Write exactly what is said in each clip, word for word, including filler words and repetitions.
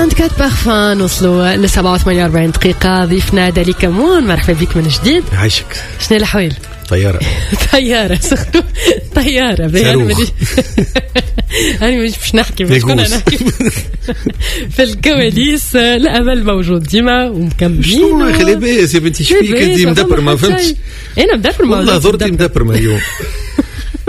أربعة وعشرين بارفان، نوصلوا ل سبعة وثمانية وأربعين دقيقة. ضيفنا دالي كمون، مرحبا بك من جديد. عايشك. شنو الأحوال؟ طيارة. طيارة، surtout طيارة. باهي، أنا مانيش أنا مانيش باش نحكي، باش كنا نحكي في الكواليس. الأمل موجود ديما ومكملين. شنو يا اخي، لاباس يا بنتي؟ شبيك انت مدبر؟ ما فهمتش. أنا مدبر. والله ضرتي مدبر اليوم،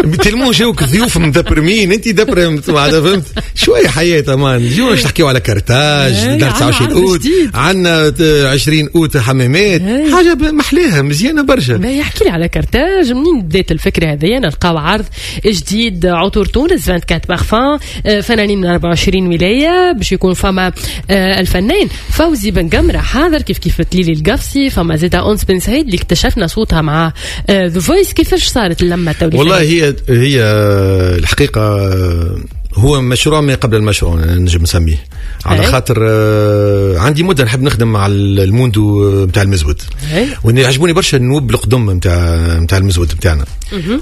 tellement جاوك ضيوف مدبرمين، انت دبر، فهمت؟ شوية حياة امان. اليوم باش نحكيو على كرتاج دار تسعة وعشرين اوت، عندنا عشرين اوت حمامات، حاجة محلاها مزيانه برشا. يحكي لي على كرتاج، منين بدات الفكرة هذه؟ نلقاو عرض جديد، عطور تونس أربعة وعشرين بارفان، فنانين من أربعة وعشرين ولايه، باش يكون فما آه، الفنان فوزي بن قمره حاضر، كيف كيف تليلي القفصي، فما زيدا انس بن سعيد اللي اكتشفنا صوتها مع The Voice. كيفاش صارت اللمة التوليفه؟ والله هي هي الحقيقة هو مشروع ما قبل المشروع نجم نسميه، على خاطر آه، عندي مده نحب نخدم مع الموندو نتاع المزود، وإن يعجبوني برشا النوب القدم نتاع نتاع المزود نتاعنا،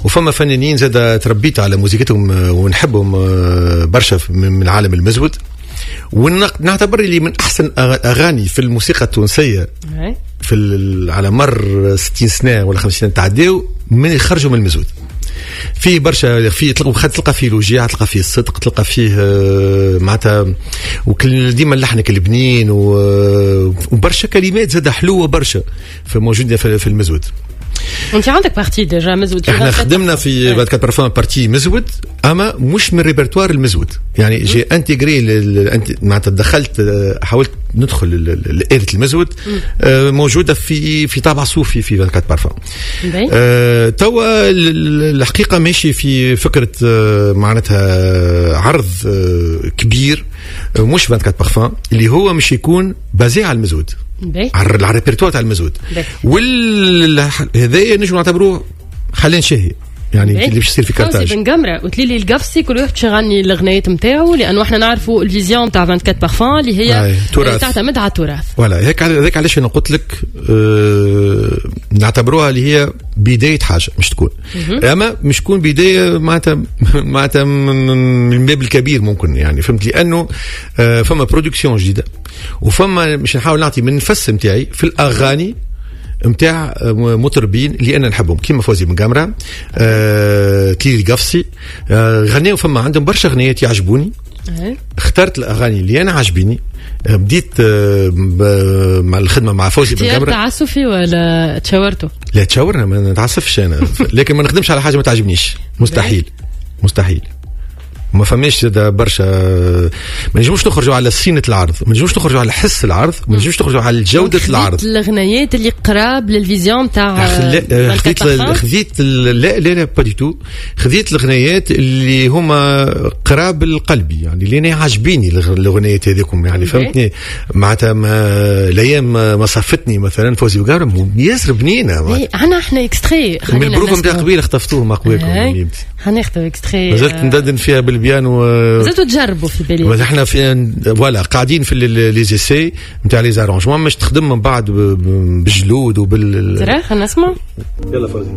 وفما فنانين زاد تربيت على موزيكتهم ونحبهم آه، برشا من عالم المزود، ونعتبر اللي من احسن اغاني في الموسيقى التونسية في على مر ستين سنة ولا خمسين سنة تعداو من يخرجوا من المزود. فيه برشا، فيه تلقى تلقى فيه الوجيعه، تلقى فيه الصدق، تلقى فيه آه، معناتها وكل ديما اللحن البنين وبرشا كلمات زاد حلوة برشا فموجوده في المزود. انت عندك partie déjà مزود؟ احنا خدمنا في أربعة وعشرين parfums partie مزود، اما مش من ريبرتوار المزود، يعني j'ai intégré، معناتها دخلت، حاولت ندخل آلة المزود آه، موجودة في في طابع صوفي في أربعة وعشرين بارفان. آه، توا الحقيقة ماشي في فكرة آه، معناتها عرض كبير، مش أربعة وعشرين بارفان، اللي هو مش يكون basé على المزود، على الريبرتوار تاع المزود، وهذايا نجم نعتبروه حلين شهي، يعني اللي باش يصير في كارتاج. فوزي بن قمره وتليلي القفصي، كل واحد باش يغني الاغنيات نتاعو؟ لانه احنا نعرفوا ال vision تاع أربعة وعشرين بارفان اللي هي تعتمد على التراث. voilà، هيك هذاك علاش انا قلت لك أه نعتبروها اللي هي بداية حاجة مش تكون، اما مش تكون بداية معناتها معناتها من الباب الكبير ممكن، يعني فهمت؟ لانه أه فما production جديده، وفما مش نحاول نعطي من النفس نتاعي في الاغاني نتاع مطربين اللي انا نحبهم، كيما فوزي بن قمره، آه، تليلي القفصي، آه، غنيو، فما عندهم برشا اغنيات يعجبوني. اخترت الاغاني اللي انا عجبيني، آه، بديت آه، مع الخدمة مع فوزي بن قمره. تعسفي ولا تشاورتوا؟ لا، تشاورنا، ما نتعسفش انا، لكن ما نخدمش على حاجة ما تعجبنيش، مستحيل مستحيل. ما فماش برشا، ما نجموش نخرجوا على سينة العرض، ما نجموش نخرجوا على حس العرض، ما نجموش نخرجوا على جودة العرض. الاغنيات اللي قراب لل vision تاع خذيت خذيت لا لا لا، pas du tout. خذيت الاغنيات اللي هما قراب لقلبي، يعني اللي انا عاجبيني الاغنيات هذيكم، يعني فهمتني؟ معناتها ما الايام ما صفتني مثلا، فوزي بن ياسر بنينه. عندنا احنا extrait. من البروفه نتاع قبيلة خطفتوه مع قواكم. حناخذ extrait. مازلت ندندن فيها بالبيانو. مازلتوا تجربوا في بالي. احنا في voilà قاعدين في les essais نتاع les arrangements، مش تخدم من بعد بالجلود وبال ترى خلينا نسمع. يلا فوزي.